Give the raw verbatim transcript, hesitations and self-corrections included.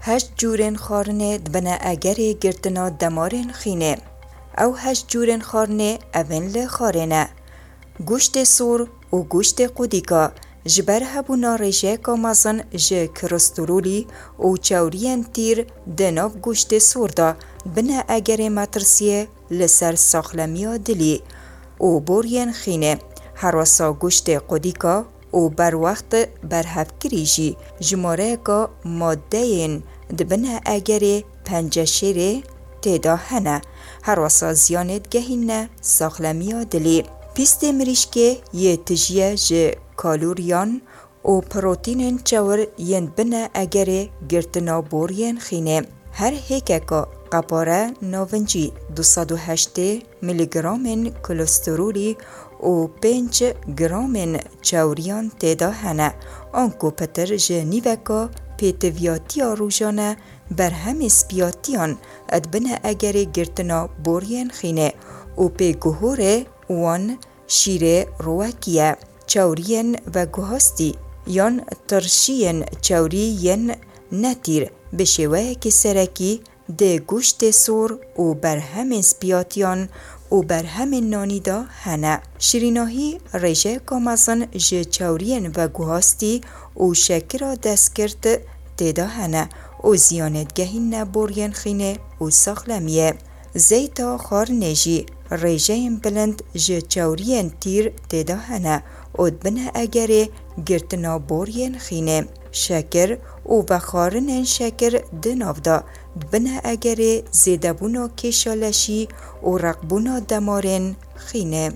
Heşt cûrên xwarinê dibine egerê girtina demarên xînê. Ew heşt cûrên xwarinê evên li xarê ne: goştê sor û goştê qudîka, ji ber hebûna rêjeyeka mezin ji kolesterolî û çewriyên tîr di nav goştê sor de, dibine egerê metirsiyê li ser saxlemiya dilî û boriyên xînê. Herwesa goştê qudîka û berwext berhevkirî jî jimareyeka maddeyên dibine egerê penceşêrê tê de hene. Herwesa ziyanê digehîne saxlemiya dilî. Pîstê mirîşkê yê tijî ye ji kaloriyan û protînên çewir yên dibine egerê girtina boriyên xînê. Her hêkeka qepare navincî du sed û heştê miligramên kolesterolî û pênc gramên çewriyan tê de hene. Anku pitir ji nîveka pêtiviyatiya rojane berhemê spiyatiyan dibine egerê girtina boriyên xînê û pêguhorê wan şîrê rowekî ye, çewriyên veguhastî yan tirşiyên çewrî yên netîr bi şêweyekî serekî di goştê sor û berhemên spiyatiyan û berhemên nanî de hene. Şirînahî rêjeyeka mezin ji çewriyên veguhastî û şekira destgirt tê de hene û ziyanê digehîne boriyên xînê û saxlemiyê. Zeyta xwarinê jî rêjeyên bilind ji çewriyên tîr tê de hene û dibine egerê girtina boriyên xînê. Şekir û vexwarinên şekir di nav de dibine egerê zêdebûna kêşa leşî û reqbûna demarên xînê.